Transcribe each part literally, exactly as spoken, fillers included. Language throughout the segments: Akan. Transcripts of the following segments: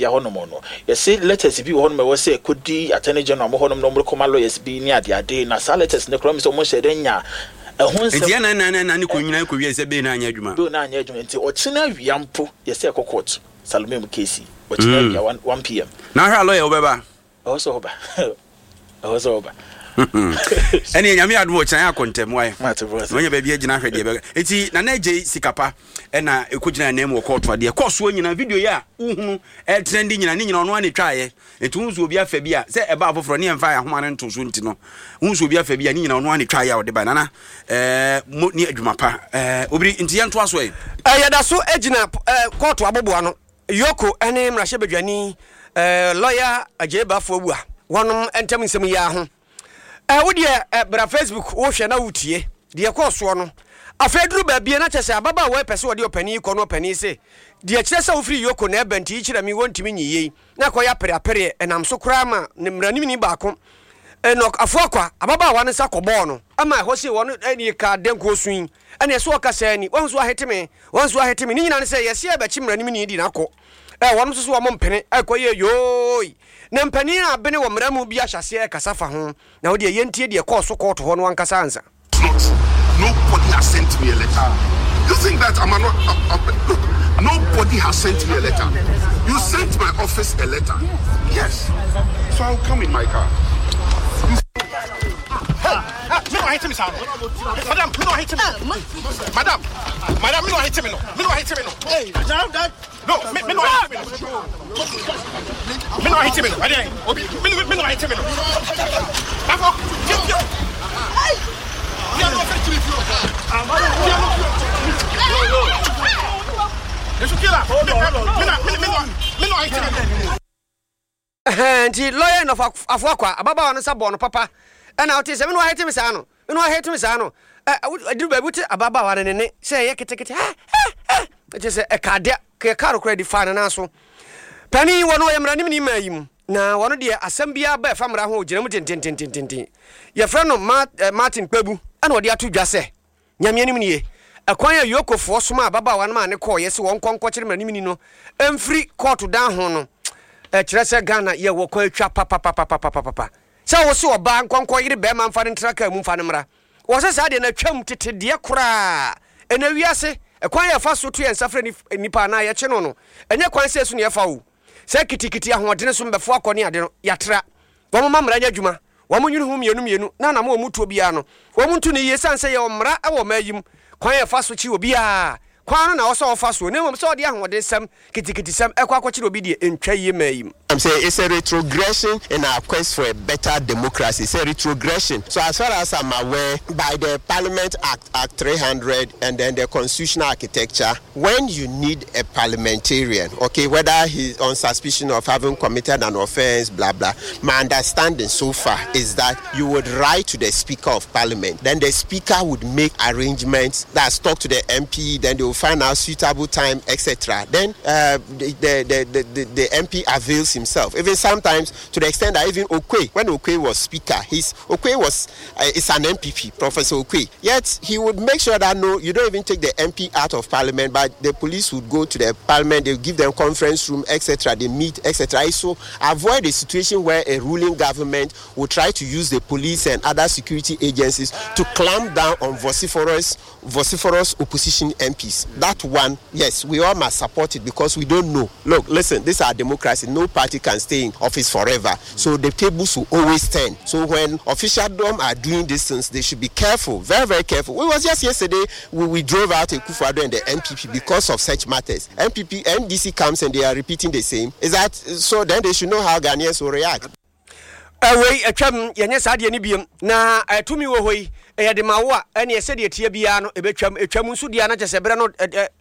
Arabia hɔnom no, yɛsɛ letters bi wɔ hɔnom a ɛwɔ sɛ ɛkɔdi Attorney General mo hɔnom na ɔmo kɔma lawyers bi ne adeade, na saa letters no koraa mi sɛ ɔmo hyɛ dɛ nya ɛho nsɛm. Nti ɛna na na ne kɔ nyinaa kɔ wie sɛ bail no anyɛ adwuma. Bail no anyɛ adwuma, nti ɔkyena awia mpo yɛsɛ ɛkɔ court. Salome mu case, ɔkyena awia one one p m. Na ahwɛ a, lawyer wobɛba? Ɛwɔ sɛ ɔba, ɛwɔ sɛ ɔba. Ɛne Nyame adom, ɔkyena yɛ akɔ ntɛm wae. Mate boss. Na ɔnya baabi agyina hwɛ deɛ bɛka. Enti Nana Agye Sikapa ɛna ɛkɔgyina nan mu wɔ kɔɔto adeɛ kɔɔ soɔ nyinaa. Video yi a wohunu ɛtrend nyina ne nyina, ɔno ane twaeɛ. Nti wohu sɛ obi afa bi a sɛ ɛba foforɔ ne yɛmfa ahoma no nto so, nti no wohu sɛ obi afa bi a ne nyina, ɔno ane twaeɛ a ɔde ba. Nana ɛɛ, mo ne adwuma pa ɛɛ, obiri nti yɛntoa so ɛ. Yɛda so gyina kɔɔto aboboa no. EOCO ne mmarahyɛbadwani lɔya Agyei Baffour Awuah wɔnom ntam nsɛm yi ara ho. Wo deɛ bra Facebook, wohwɛ na wotie deɛ ɛkɔɔ soɔ no. Afei duru baabi na kyerɛ sɛ ababaawa yi pɛ sɛ ɔde ɔpanin yi kɔ no, ɔpanin se deɛ kyerɛ sɛ wofiri EOCO na ɛba, nti yi kyerɛ me, wɔntumi nyi yei na akɔyɛ apereapereɛ. Ɛnam so koraa ma ne mmaranimni baako, Enoch Afuakwa, ababaawa no nsa kɔbɔɔ no ama ɛhɔ sei wɔn ɛne ka dɛnkuo so yi ɛne ɛso ɔkasa ni wɔn nso ahete me, wɔn nso ahete me. Ne nyinaa ne sɛ yɛsi ɛbɛkye mmaranimni di n'akɔ ɛ, wɔn nso so wɔn mpene ɛkɔ yɛ yooi, na mpanin a abene wɔ mmara mu bi ahyɛ aseɛ ɛkasa fa ho. Na wɔde yɛntie deɛ kɔɔ so kɔɔto hɔ no ankasa ansa. It's not true. Nobody has sent me a letter. You think that I'm not? Uh, uh, look, nobody has sent me a letter. You sent my office a letter. Yes. So I'll come in my car. Me no hit me, sir. Madam, me no hit me. Madam, madam, me no hit me no. Me no hit me no. Hey, that no, me me no hit me no. Me no hit me no. Ade, obi me me no hit me no. Afọ, fio fio. Fio no fẹ́ kiri fio. Fio no fio. Esu kila. Me na me me no me no hit me no. Nti lɔya Enoch Afuakwa, ababaawa no nsa bɔɔ no papa, ɛna wote sɛ me no ahete me saa no, me no ahete me saa no. Aduru baabi wote ababaawa no ne ne sɛ ɛyɛ ketekete ɛ ɛ ɛ kyɛ sɛ ɛka adeɛ kɛka no koraa di fa ne nan so. Panin wɔ no, ɔyɛ mmaranimni maa yi mu, na wɔno deɛ asɛm biara ba ɛfa mmara ho, ɔgyina mu dendendendenden. Yɛfrɛ no Martin Kpebu, ɛna ɔde ato dwa sɛ Nyame anim nie, ɛkwan a EOCOfoɔ soma ababaawa no maa ne kɔɔyɛ sɛ wɔn nkɔ nkɔkyere mmaranimni no mfiri kɔɔto dan ho no, ɛkyerɛ sɛ Ghana yɛwɔ kwan atwa papapapapapapa sɛ wo se ɔbaa nkɔnkɔ yere bɛrima mfa no ntra kaa mu mfa no mmra. Wɔ sɛ saa deɛ no atwam tete deɛ koraa. Ɛna wiase ɛkwan yɛ fa so to yɛn nsa frɛ nipa anaa yɛkye no no, ɛnyɛ kwan sɛ so ne yɛfa o, sɛ kitikiti ahoɔdene so mbɛfo akɔ ne ade no. Yɛatra wɔn ma mmara nyɛ adwuma, wɔn nwene ho mmienu mmienu na anam wɔn mu tuo biara no, wɔn nto ne yie, sane sɛ yɛwɔ mmara wɔ ɔman yi mu. Kwan yɛ fa so kyi obiara kwan no na ɔsɛ ɔfa soɔ, na mmom sɛ ɔde ahoɔden kitikiti sɛm ɛkɔ akɔkyerɛ obi deɛ, ntwa yie maa yi mu. I'm saying it's a retrogression in our quest for a better democracy. It's a retrogression. So as far as I'm aware, by the Parliament Act, Act three hundred, and then the constitutional architecture, when you need a parliamentarian, okay, whether he's on suspicion of having committed an offense, blah, blah, my understanding so far is that you would write to the Speaker of Parliament. Then the Speaker would make arrangements, that's talk to the M P, then they will find out suitable time, et cetera. Then uh, the, the, the, the, the M P avails himself. Even sometimes to the extent that even Oquaye, when Oquaye was Speaker, he's, Oquaye was uh, is an N P P, Professor Oquaye. Yet he would make sure that no, you don't even take the M P out of Parliament, but the police would go to the Parliament, they give them conference room, et cetera. They meet, et cetera. So avoid a situation where a ruling government will try to use the police and other security agencies to clamp down on vociferous, vociferous opposition M Ps. That one, yes, we all must support it because we don't know. Look, listen, this is our democracy. No party can stay in office forever. So the tables will always turn. So when officialdom are doing these things, they should be careful, very, very careful. It was just yesterday we, we drove out Akufo-Addo and the N P P because of such matters. N P P, N D C comes and they are repeating the same. Is that so? Then they should know how Ghanaians will react. Ɛwei atwam, yɛnyɛ saa deɛ no biom. Na tumi wɔ hɔ yi, ɛyɛ de ma wo a, ɛneɛ sɛdeɛ tie biara no ɛbɛtwam. Ɛtwam nso deɛ na kyɛ sɛ berɛ no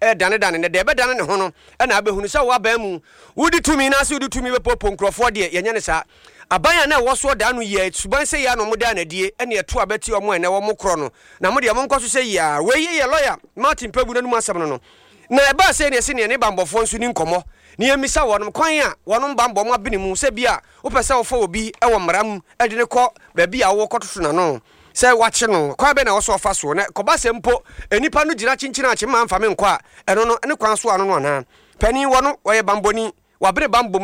ɛdanedane ne deɛ ɛbɛdane ne ho no, ɛna abɛhunu sɛ woaban mu wodi tumi na sɛ wodi tumi bɛpopo nkurɔfoɔ deɛ, yɛnyɛ ne saa. Aban a na ɛwɔ soɔ daa no yɛ suban sɛ yɛ a na ɔmo daa n'adie, ɛne ɛto a bɛte ɔmo ɛnɛ wɔn korɔ no, na mo deɛ monkɔ so sɛ yia. Wei yɛ lɔya Martin Kpebu n'anum asɛm no no Na ɛbaa sɛ neɛ sɛ neɛ ne bambɔfoɔ nso ni nkɔmmɔ ne yɛmmisa wɔnom kwan a wɔnom bambɔ mo abene mu, sɛ bi a wopɛ sɛ wofa obi wɔ mmara mu de ne kɔ baabi a wowɔ kɔtoto n'ano sɛ wakye no, kwan bɛ na ɛwɔ sɛ ɔfa soɔ, na kɔba sɛ mpo nnipa no gyina kyenkyene akye ma mfa me nkɔ a, ɛno no ne kwan so ano no anaa. Panin wɔ no, wɔyɛ bambɔni, wabere bambɔ mu.